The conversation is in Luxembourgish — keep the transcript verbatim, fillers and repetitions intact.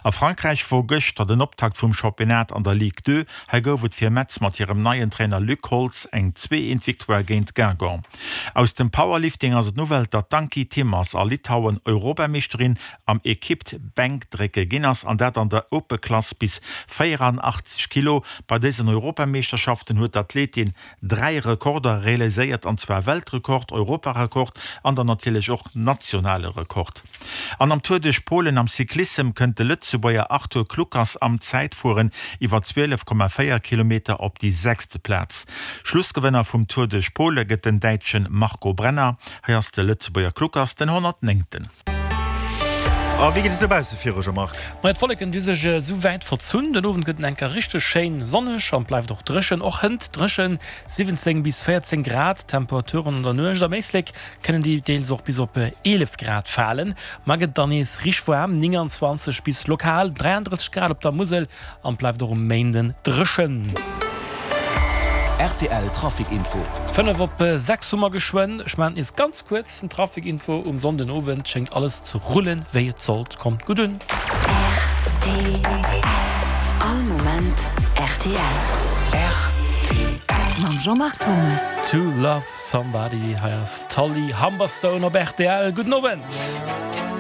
A Frankräich wor gëschter den Optakt vum Championnat an der Ligue Deux. Hei gouf et fir Metz mat hirem neien Trainer Luc Holtz eng zwee eent Victoire géint Guingamp. Aus dem Powerlifting ass et d'Nouvelle, datt d'Ankie Timmers a Litauen Europameeschterin am Equipped Bänkdrécke ginn ass, an dat an der Open Klass bis véieranaachtzeg Kilo. Bei dësen Europameeschterschaften huet d'Athletin dräi Rekorder realiséiert, an zwar Weltrekord, Europarekord an dann natierlech och nationale Rekord. An am Tour duerch Polen am Cyclissem kënnt de Lëtzebuerger Arthur Kluckers am Zäitfueren iwwer zwielef Komma véier Kilometer op déi sechste Plaz. Schlussgewënner vum Tour duerch Pole gëtt den Däitsche Marco Brenner. Hei ass de Lëtzebuerger Kluckers den honnertnéngten. A wéi geet et dobausse viru, Jean-Marc? Majo, d'Wolleken hu sech esou wäit verzunn. Den Owend gëtt et enker richteg schéin sonneg an bleift och dréchen. Och hënt dréchen, siwwenzéng bis véierzéng Grad Temperaturen an der Nuecht. Am Éislek kënnen déi deels och bis op eelef Grad falen. Mar gëtt dann nees richteg waarm, nénganzwanzeg bis lokal dräiandrësseg Grad op der Musel an bleift och um Méinden dréchen. Rtl Trafic Info. Fënnef op sechs hu mer geschwënn. Ech maachen nees ganz kuerz den Trafic Info. Um Sonnden Owend schéngt alles ze rullen wéi et sollt. Kommt gutt un. Rtl, All Moment rtl. Rtl. Mam Jean-Marc Thomes. To Love Somebody, hei ass d'Holly Humberstone op rtl. Gudden Owend.